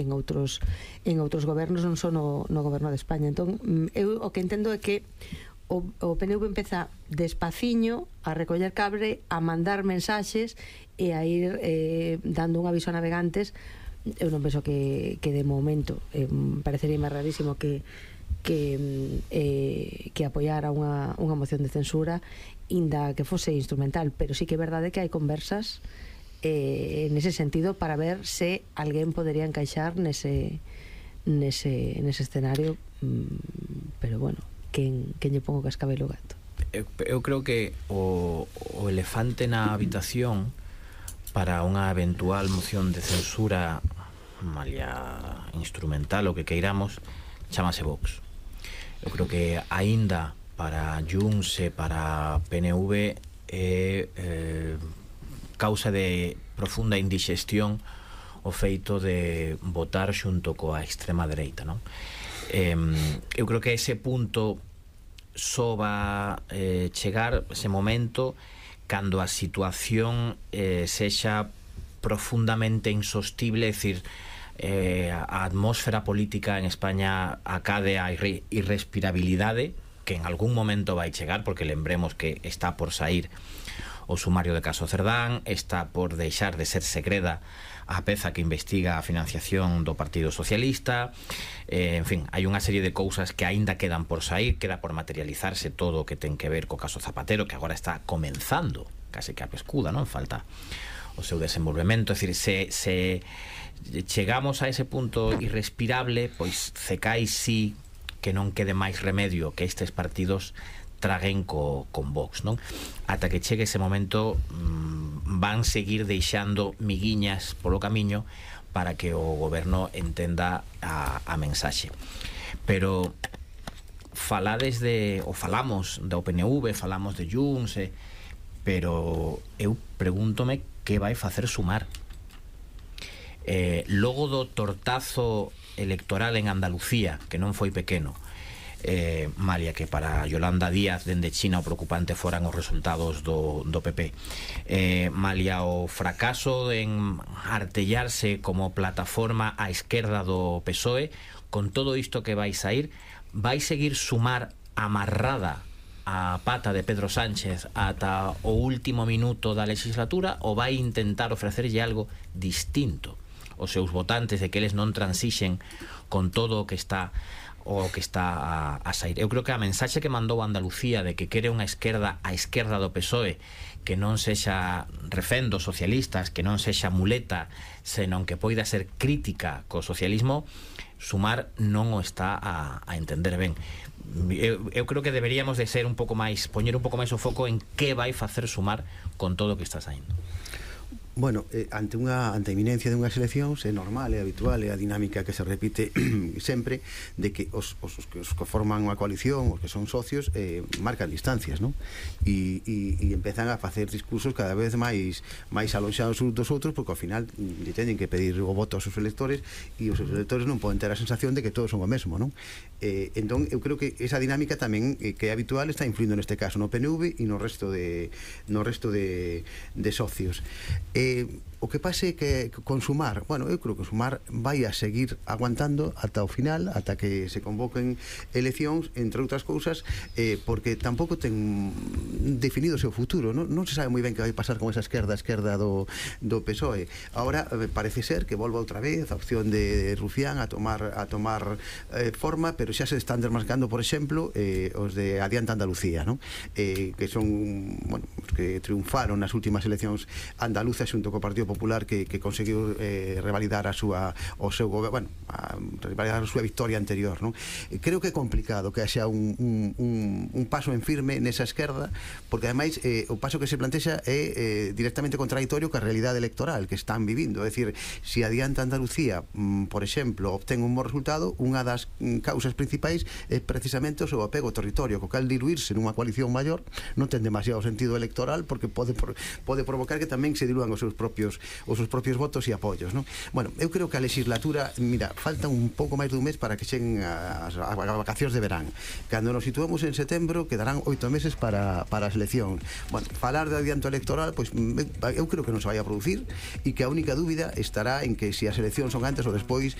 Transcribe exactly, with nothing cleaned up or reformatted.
en outros en outros gobernos, non só no, no goberno de España. Entón, eu o que entendo é que o, o P N V empeza despaciño a recoller cable, a mandar mensaxes e a ir eh, dando un aviso a navegantes. Eu non penso que, que de momento eh, parecería rarísimo que que eh, que apoiara unha, unha moción de censura, inda que fose instrumental, pero sí que é verdade que hai conversas eh, nese sentido para ver se alguén podería encaixar nese nese, nese escenario, mm, pero bueno, quen, quen lle pongo cascabel o gato. Eu, eu creo que o, o elefante na habitación para unha eventual moción de censura malia instrumental, o que queiramos, chamase Vox. Eu creo que aínda para Junts e para P N V é eh, causa de profunda indigestión o feito de votar xunto coa extrema dereita, non? Eh, eu creo que ese punto só va eh, chegar ese momento cando a situación eh, sexa profundamente insostible, é dicir, eh, a atmósfera política en España acade a irre, irrespirabilidade, que en algún momento vai chegar, porque lembremos que está por sair o sumario de caso Cerdán, está por deixar de ser segreda a peza que investiga a financiación do Partido Socialista, eh, en fin, hai unha serie de cousas que aínda quedan por sair, queda por materializarse todo o que ten que ver co caso Zapatero, que agora está comenzando, case que a pescuda, non? Falta o seu desenvolvemento, é dicir, se, se chegamos a ese punto irrespirable, pois cecai sí que non quede máis remedio que estes partidos traguen co, con Vox, non? Ata que chegue ese momento mmm, van seguir deixando miguiñas polo camiño para que o goberno entenda a, a mensaxe. Pero falades de, ou falamos do P N V, falamos de Junts, eh, pero eu pregúntome que vai facer Sumar. Eh, logo do tortazo electoral en Andalucía, que non foi pequeno, eh, malia que para Yolanda Díaz dende China o preocupante foran os resultados do, do P P, eh, malia o fracaso en artellarse como plataforma á esquerda do P S O E, con todo isto que vai sair, vai seguir Sumar amarrada a pata de Pedro Sánchez ata o último minuto da legislatura, ou vai intentar ofrecerlle algo distinto os seus votantes, de que eles non transixen con todo o que está o que está a, a sair? Eu creo que a mensaxe que mandou Andalucía de que quere unha esquerda a esquerda do P S O E, que non sexa refén dos socialistas, que non sexa muleta, senón que poida ser crítica co socialismo, Sumar non o está a, a entender ben. Eu, eu creo que deberíamos de ser un pouco máis, poñer un pouco máis o foco en que vai facer Sumar con todo o que está saindo. Bueno, eh, ante unha ante a inminencia dunhas eleccións é normal, é habitual, é a dinámica que se repite sempre, de que os, os, os, que, os que forman unha coalición, os que son socios, eh, marcan distancias, non? E, e, e empezan a facer discursos cada vez máis máis alonxados uns dos outros, porque ao final lle teñen que pedir o voto aos seus electores, e os seus electores non poden ter a sensación de que todos son o mesmo, non? Eh, entón, eu creo que esa dinámica tamén, eh, que é habitual, está influindo neste caso no P N V e no resto de no resto de, de socios. Eh, o que pase que con Sumar, bueno, eu creo que Sumar vai a seguir aguantando ata o final, ata que se convoquen eleccións, entre outras cousas, eh, porque tampouco ten definido o seu futuro, non, non se sabe moi ben que vai pasar con esa esquerda esquerda do, do P S O E. Ahora eh, parece ser que volva outra vez a opción de Rufián a tomar a tomar eh, forma, pero xa se están desmascando, por exemplo, eh, os de Adianta Andalucía, non? Eh, que son, bueno, os que triunfaron nas últimas eleccións andaluzas xunto co Partido Popular, que, que conseguiu eh, revalidar a súa o seu goberno, bueno, a revalidar a súa victoria anterior, non? Creo que é complicado que haxa un, un, un, un paso en firme nesa esquerda, porque ademais eh, o paso que se plantexa é eh, directamente contradictorio ca realidade electoral que están vivindo. É dicir, se Adianta Andalucía, mm, por exemplo, obtén un bo resultado, unha das mm, causas principais é precisamente o seu apego ao territorio, co cal diluirse nunha coalición maior non ten demasiado sentido electoral, porque pode, pode provocar que tamén se diluan os seus propios os seus propios votos e apoios, non? Bueno, eu creo que a legislatura, mira, falta un pouco máis dun mes para que cheguen as, as vacacións de verán. Cando nos situemos en setembro, quedarán oito meses para, para as eleccións. Bueno, falar de adianto electoral, pois eu creo que non se vai a producir, e que a única dúbida estará en que se as eleccións son antes ou despois